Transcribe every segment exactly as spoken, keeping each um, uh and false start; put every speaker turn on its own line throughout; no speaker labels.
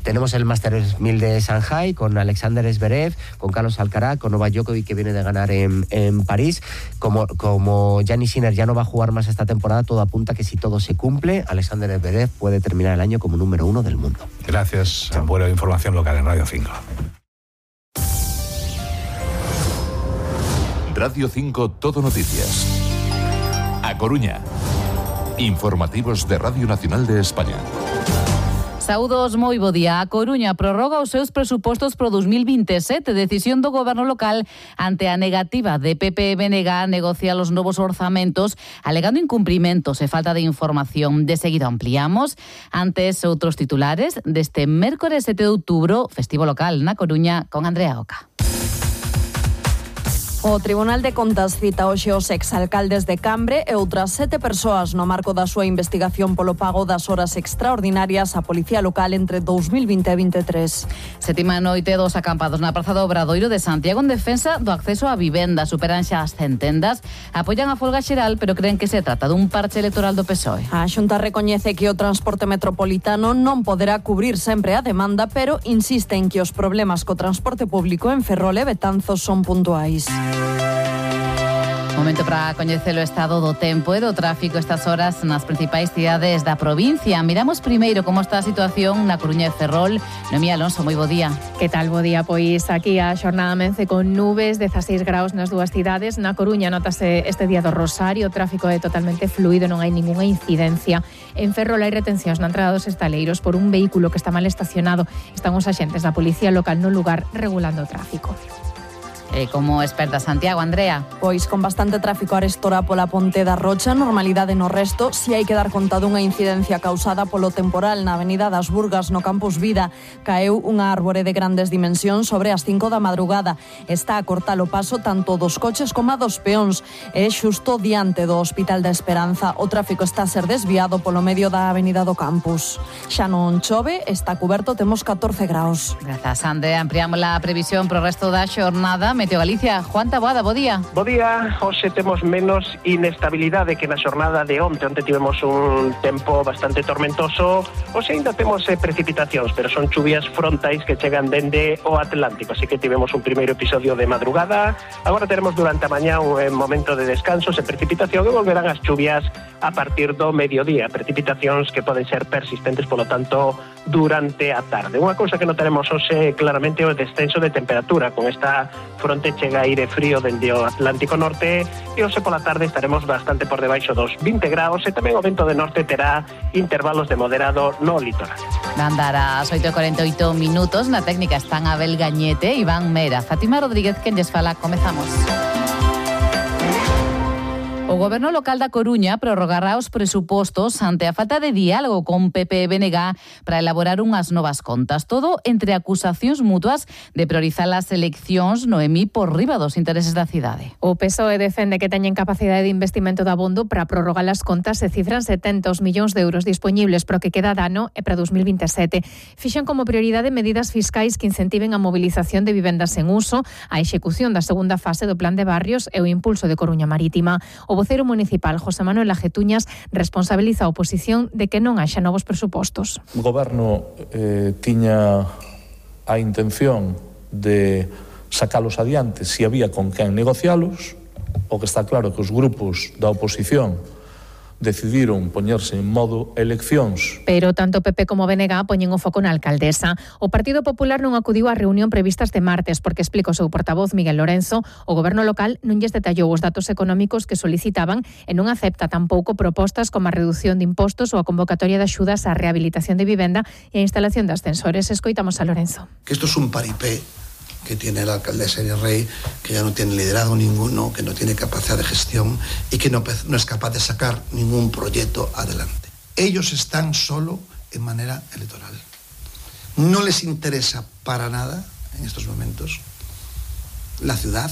tenemos el Masters mil de Shanghai con Alexander Zverev, con Carlos Alcaraz, con Novak Djokovic, que viene de ganar en, en París. Como, como Giannis Sinner ya no va a jugar más esta temporada, todo apunta que si todo se cumple, Alexander Zverev puede terminar el año como número uno del mundo.
Gracias. Buena información local en Radio cinco.
Radio cinco Todo Noticias. A Coruña. Informativos de Radio Nacional de España.
Saúdos, moi bo día. A Coruña prorroga os seus presupostos pro dos mil vinte e sete, decisión do goberno local ante a negativa de P P e B N G a negociar os novos orzamentos, alegando incumprimentos e falta de información. De seguido ampliamos. Antes, outros titulares deste mércores sete de outubro, festivo local na Coruña, con Andrea Oca.
O Tribunal de Contas cita hoxe os exalcaldes de Cambre e outras sete persoas no marco da súa investigación polo pago das horas extraordinarias á Policía Local entre dous mil vinte e vinte e tres.
Sétima noite dos acampados na Praza do Obradoiro de Santiago en defensa do acceso á vivenda. Superan xa as centendas, apoian a folga xeral, pero creen que se trata dun parche electoral do P S O E.
A Xunta recoñece que o transporte metropolitano non poderá cubrir sempre a demanda, pero insiste en que os problemas co transporte público en Ferrol e Betanzos son puntuais.
Momento para coñecer o estado do tempo e do tráfico estas horas nas principais cidades da provincia. Miramos primeiro como está a situación na Coruña e Ferrol. Noemí Alonso, moi bo día.
Que tal, bo día? Pois aquí a xornada amence con nubes, dezaseis graus nas dúas cidades. Na Coruña notase este día do Rosario, o tráfico é totalmente fluido, non hai ningunha incidencia. En Ferrol hai retencións na entrada dos estaleiros por un vehículo que está mal estacionado. Están os axentes da Policía Local no lugar regulando o tráfico.
E como experta Santiago, Andrea?
Pois con bastante tráfico arestora pola Ponte da Rocha, normalidade no resto, si hai que dar conta dunha incidencia causada polo temporal na Avenida das Burgas no Campus Vida. Caeu unha árbore de grandes dimensións sobre as cinco da madrugada. Está a cortar o paso tanto dos coches como a dos peóns. É xusto diante do Hospital da Esperanza. O tráfico está a ser desviado polo medio da Avenida do Campus. Xa non chove, está cuberto, temos catorce graus.
Grazas, Andrea. Ampliamos a previsión pro resto da xornada. Meteo Galicia, Juan Taboada, bo día.
Bo día, hoxe temos menos inestabilidade que na xornada de onte. Onte tivemos un tempo bastante tormentoso. Hoxe ainda temos eh, precipitacións, pero son chuvias frontais que chegan dende o Atlántico. Así que tivemos un primeiro episodio de madrugada. Agora teremos durante a mañá un eh, momento de descanso e precipitación e volverán as chuvias a partir do mediodía. Precipitacións que poden ser persistentes, polo tanto, durante a tarde. Unha cousa que notaremos hoxe claramente é o descenso de temperatura. Con esta fronte chega aire frío dende o Atlántico Norte e hoxe pola tarde estaremos bastante por debaixo dos vinte graus e tamén o vento de norte terá intervalos de moderado no litoral.
Van dar as oito e cuarenta e oito minutos. Na técnica están Abel Gañete, Iván Mera, Fátima Rodríguez, quen lles fala. Comezamos. O Goberno local da Coruña prorrogará os presupostos ante a falta de diálogo con P P e B N G para elaborar unhas novas contas. Todo entre acusacións mutuas de priorizar as eleccións, Noemí, por riba dos intereses da cidade.
O P S O E defende que teñen capacidade de investimento de abondo para prorrogar as contas e cifran setenta millóns de euros disponibles para o que queda de ano e para dos mil vinte e sete. Fixen como prioridade medidas fiscais que incentiven a mobilización de vivendas en uso, a execución da segunda fase do Plan de Barrios e o impulso de Coruña Marítima. O vocero municipal, José Manuel Ajetuñas, responsabiliza a oposición de que non haxa novos presupostos.
O goberno eh, tiña a intención de sacalos adiante se había con quen negocialos. O que está claro que os grupos da oposición decidiron poñerse en modo eleccións.
Pero tanto P P como B N G poñen o foco na alcaldesa. O Partido Popular non acudiu á reunión prevista este martes porque, explica o seu portavoz Miguel Lorenzo, o goberno local non lles detallou os datos económicos que solicitaban e non acepta tampouco propostas como a reducción de impostos ou a convocatoria de axudas á rehabilitación de vivenda e a instalación de ascensores. Escoitamos a Lorenzo.
Que isto es un paripé que tiene la alcaldesa Iria Rey, que ya no tiene liderazgo ninguno, que no tiene capacidad de gestión y que no, no es capaz de sacar ningún proyecto adelante. Ellos están solo en manera electoral. No les interesa para nada, en estos momentos, la ciudad,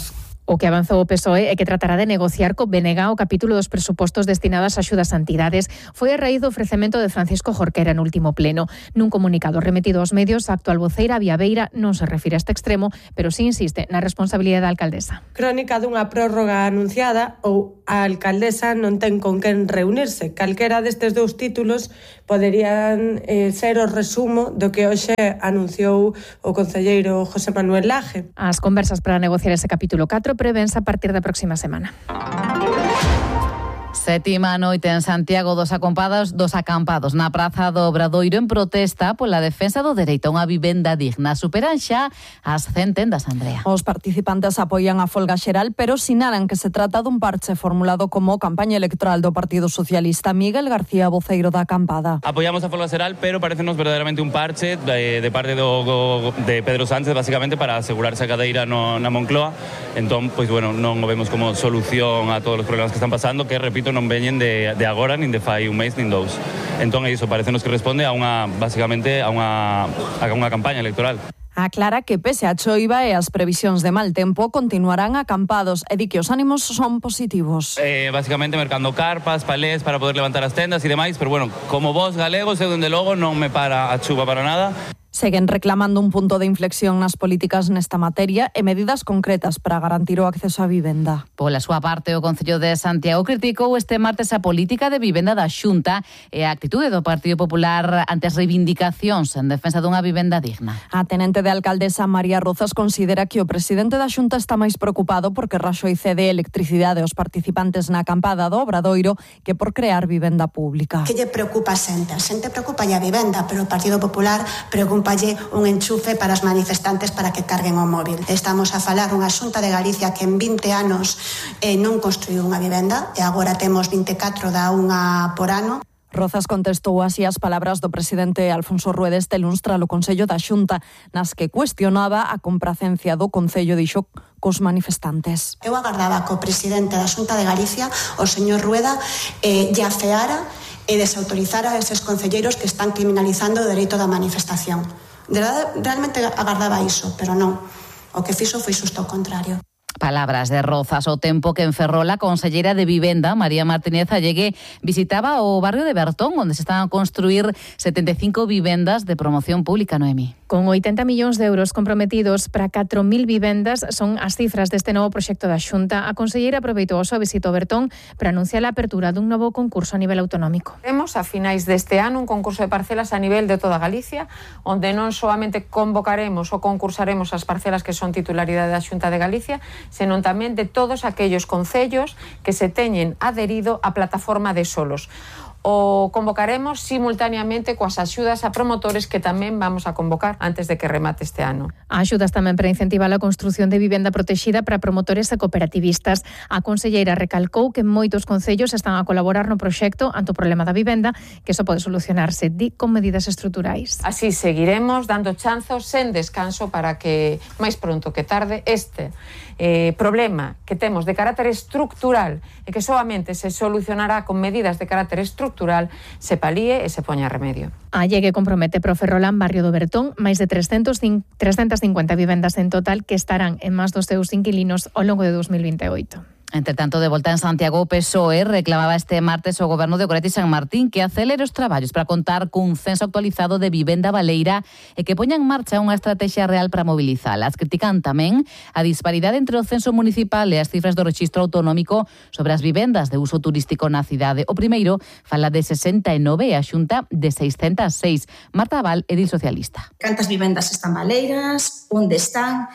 O que avanzou o P S O E é que tratará de negociar co B N G o capítulo dos presupostos destinados a axudas a entidades. Foi a raíz do ofrecemento de Francisco Jorquera no último pleno. Nun comunicado remitido aos medios, a actual voceira Viabeira non se refire a este extremo, pero sí insiste na responsabilidade da alcaldesa.
Crónica dunha prórroga anunciada ou a alcaldesa non ten con quen reunirse. Calquera destes dous títulos poderían eh, ser o resumo do que hoxe anunciou o concelleiro José Manuel Laje.
As conversas para negociar ese capítulo catro prevense a partir da próxima semana.
Sétima noite en Santiago dos acampados, dos acampados na Praza do Obradoiro en protesta pola defensa do dereito a unha vivenda digna. Superan xa as cen tendas, Andrea.
Os participantes apoian a folga xeral, pero sinalan que se trata dun parche formulado como campaña electoral do Partido Socialista. Miguel García, voceiro da acampada.
Apoiamos a folga xeral, pero parecenos verdadeiramente un parche de, de parte do, do, de Pedro Sánchez, basicamente para asegurarse a cadeira no, na Moncloa. Entón, pois, bueno, non o vemos como solución a todos os problemas que están pasando, que, repito, non veñen de, de agora, nin de fai un mes, nin dous. Entón, é iso, parecenos que responde a unha, basicamente, a unha, a unha campaña electoral.
Aclara que pese a choiva e as previsións de mal tempo continuarán acampados e di que os ánimos son positivos.
Eh, basicamente mercando carpas, palés para poder levantar as tendas e demais, pero bueno, como vos galegos, eu dende logo non me para a chuva para nada.
Seguen reclamando un punto de inflexión nas políticas nesta materia e medidas concretas para garantir o acceso á vivenda.
Pola súa parte, o Concello de Santiago criticou este martes a política de vivenda da Xunta e a actitude do Partido Popular ante as reivindicacións en defensa dunha vivenda digna.
A tenente de alcaldesa María Rozas considera que o presidente da Xunta está máis preocupado porque Raxoi cede electricidade aos participantes na acampada do Obradoiro que por crear vivenda pública.
Que lle preocupa a xente? A xente preocupa a vivenda, pero o Partido Popular preocupa un enchufe para os manifestantes para que carguen o móvil. Estamos a falar unha Xunta de Galicia que en vinte anos eh, non construiu unha vivenda e agora temos vinte e catro da unha por ano.
Rozas contestou así as palabras do presidente Alfonso Rueda este luns tras o Consello da Xunta, nas que cuestionaba a compracencia do Concello dixo cos manifestantes.
Eu agardaba que o presidente da Xunta de Galicia, o señor Rueda, eh, lle afeara e desautorizar a eses concelleiros que están criminalizando o dereito da manifestación. De verdade, realmente agardaba iso, pero non. O que fixo foi xusto o contrario.
Palabras de Rozas. O tempo que en Ferrol a conselleira de Vivenda, María Martínez Allegue, visitaba o barrio de Bertón, onde se están a construir setenta e cinco vivendas de promoción pública, Noemi.
Con oitenta millóns de euros comprometidos para catro mil vivendas son as cifras deste novo proxecto da Xunta. A conselleira aproveitou a súa visita ao Bertón para anunciar a apertura dun novo concurso a nivel autonómico.
Temos a finais deste ano un concurso de parcelas a nivel de toda Galicia, onde non solamente convocaremos ou concursaremos as parcelas que son titularidade da Xunta de Galicia, senón tamén de todos aquellos concellos que se teñen adherido á plataforma de solos. O convocaremos simultaneamente coas axudas a promotores que tamén vamos a convocar antes de que remate este ano.
A axudas tamén para incentivar a construción de vivenda protexida para promotores e cooperativistas. A conselleira recalcou que moitos concellos están a colaborar no proxecto ante o problema da vivenda, que só pode solucionarse di con medidas estruturais.
Así seguiremos dando chanzos sen descanso para que máis pronto que tarde este eh, problema que temos de carácter estructural e que solamente se solucionará con medidas de carácter estructural se palíe e se poña remedio.
A Llegue compromete pro Ferrolán, barrio do Bertón, máis de trescentas cincuenta vivendas en total que estarán en más dos seus inquilinos ao longo de dos mil vinte e oito.
Entre tanto, de volta en Santiago, o P S O E reclamaba este martes ao goberno de Goretti San Martín que acelere os traballos para contar cun censo actualizado de vivenda baleira e que poña en marcha unha estrategia real para mobilizalas. Critican tamén a disparidade entre o censo municipal e as cifras do rexistro autonómico sobre as vivendas de uso turístico na cidade. O primeiro fala de sesenta e nove e a Xunta de seiscentas e seis. Marta Abal, edil socialista.
Cantas vivendas están baleiras? Onde están?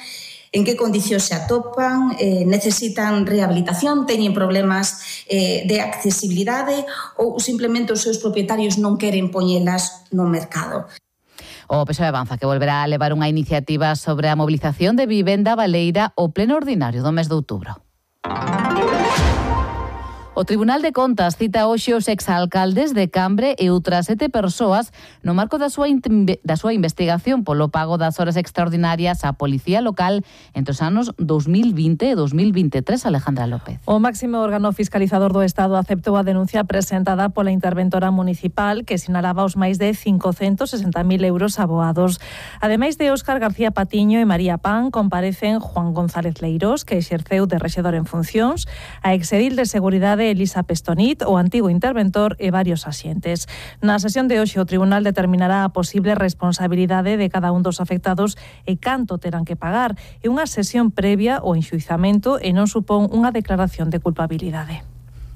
En que condicións se atopan, eh, necesitan rehabilitación, teñen problemas eh, de accesibilidade ou simplemente os seus propietarios non queren poñelas no mercado.
O P S O E avanza que volverá a levar unha iniciativa sobre a mobilización de vivenda baleira ao pleno ordinario do mes de outubro. O Tribunal de Contas cita hoxe os exalcaldes de Cambre e outras sete persoas no marco da súa, da súa investigación polo pago das horas extraordinarias á Policía Local entre os anos dos mil vinte e dos mil vintetrés. Alejandra López.
O máximo órgano fiscalizador do Estado aceptou a denuncia presentada pola interventora municipal que sinalaba os máis de cincocentos sesenta mil euros aboados. Ademais de Óscar García Patiño e María Pan, comparecen Juan González Leirós, que exerceu de rexedor en funcións, a exedil de Seguridade Elisa Pestonit, o antigo interventor e varios axentes. Na sesión de hoxe o tribunal determinará a posible responsabilidade de cada un dos afectados e canto terán que pagar. É unha sesión previa ao enxuizamento e non supón unha declaración de culpabilidade.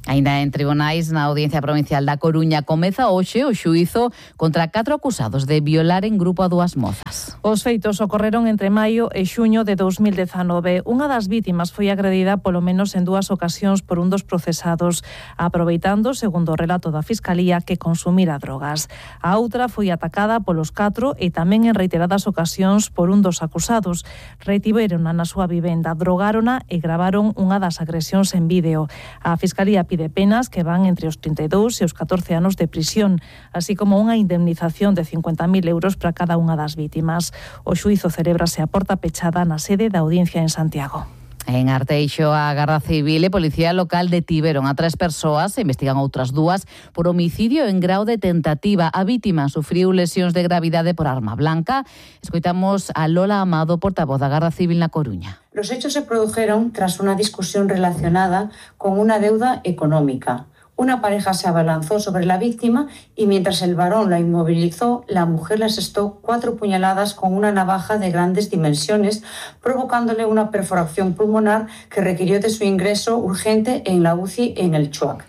Ainda en tribunais, na Audiencia Provincial da Coruña comeza hoxe o xuízo contra catro acusados de violar en grupo a dúas mozas.
Os feitos ocorreron entre maio e xuño de dos mil dezanove. Unha das vítimas foi agredida polo menos en dúas ocasións por un dos procesados, aproveitando, segundo o relato da Fiscalía, que consumira drogas. A outra foi atacada polos catro e tamén en reiteradas ocasións por un dos acusados. Retiverona na súa vivenda, drogárona e gravaron unha das agresións en vídeo. A Fiscalía pide de penas que van entre os trinta e dous e os catorce anos de prisión, así como unha indemnización de cincuenta mil euros para cada unha das vítimas. O xuízo celébrase a porta pechada na sede da Audiencia en Santiago.
En Arteixo, a Garda Civil e Policía Local detiveron a tres persoas e investigan outras dúas por homicidio en grau de tentativa. A vítima sufriu lesións de gravidade por arma blanca. Escoitamos a Lola Amado, portavoz da Garda Civil na Coruña.
Los hechos se produjeron tras una discusión relacionada con una deuda económica. Una pareja se abalanzó sobre la víctima y mientras el varón la inmovilizó, la mujer le asestó cuatro puñaladas con una navaja de grandes dimensiones, provocándole una perforación pulmonar que requirió de su ingreso urgente en la U C I en el Chuac.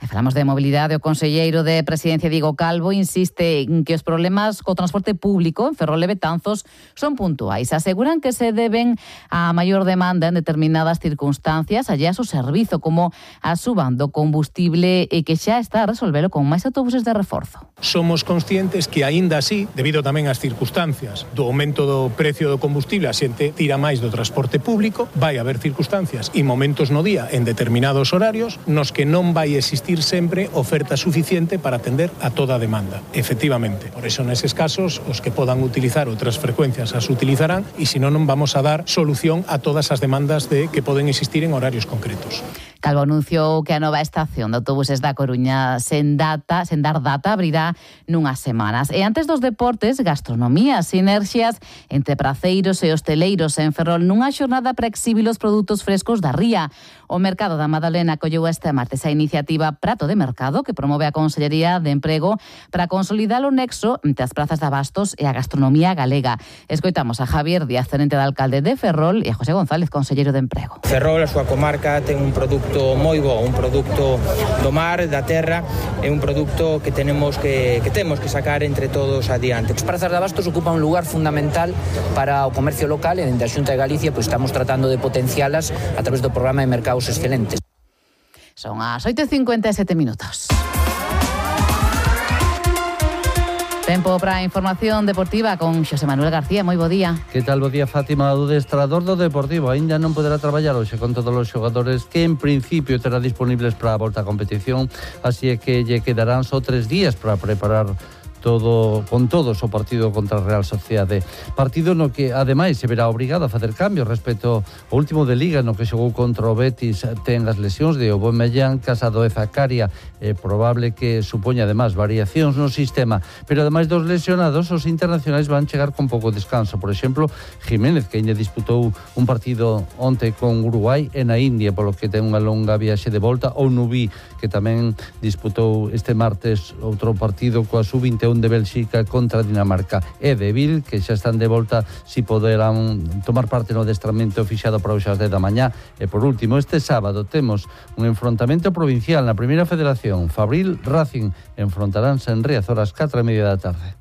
E falamos de mobilidade. O conselleiro de Presidencia, Diego Calvo, insiste en que os problemas co transporte público en Ferrol e Betanzos son puntuais. Aseguran que se deben a maior demanda en determinadas circunstancias allá o servizo, como a suban do combustible e que xa está a resolvelo con máis autobuses de reforzo.
Somos conscientes que aínda así, debido tamén ás circunstancias do aumento do precio do combustible, a xente tira máis do transporte público, vai haber circunstancias e momentos no día en determinados horarios nos que non vai existir sempre oferta suficiente para atender a toda a demanda. Efectivamente, por eso neses casos os que podan utilizar outras frecuencias as utilizarán e senón non vamos a dar solución a todas as demandas de que poden existir en horarios concretos.
Calvo anunciou que a nova estación de autobuses da Coruña sen data, sen dar data, abrirá nunhas semanas. E antes dos deportes, gastronomía, sinerxias entre praceiros e hosteleiros en Ferrol nunha xornada para exhibir os produtos frescos da ría. O Mercado da Madalena acolleu este martes a iniciativa Prato de Mercado, que promove a Consellería de Emprego para consolidar o nexo entre as prazas de abastos e a gastronomía galega. Escoitamos a Javier Díaz, tenente de alcalde de Ferrol, e a José González, conselleiro de Emprego.
Ferrol, a súa comarca, ten un produto moi bo, un produto do mar, da terra, é un produto que tenemos que, que temos que sacar entre todos adiante.
As prazas de abastos ocupan un lugar fundamental para o comercio local e dentro da Xunta de Galicia pois estamos tratando de potencialas a través do programa de Mercados Excelentes.
Son as oito e cincuenta e sete minutos. Tempo para a información deportiva con Xosé Manuel García. Moi bo día.
Que tal, bo día, Fátima? O adestrador do Deportivo aínda non poderá traballar hoxe con todos os xogadores que en principio terá disponibles para a volta a competición, así é que lle quedarán só tres días para preparar todo con todos o partido contra a Real Sociedade. Partido no que, ademais, se verá obrigado a facer cambios respecto ao último de Liga, no que xogou contra o Betis. Ten as lesións de Aubameyang, Casado e Zakaria. É probable que supoña, ademais, variacións no sistema. Pero, ademais dos lesionados, os internacionais van chegar con pouco descanso. Por exemplo, Jiménez, que ainda disputou un partido onte con Uruguai e na India, polo que ten unha longa viaxe de volta. Ou Nubí, que tamén disputou este martes outro partido coa sub vinte e un de Bélxica contra Dinamarca. E de Vil, que xa están de volta, si poderán tomar parte no adestramento fixado para hoxe ás dez da mañá. E por último, este sábado temos un enfrontamento provincial na Primeira Federación. Fabril Racing enfrontaránse en Riazor ás catro e media da tarde.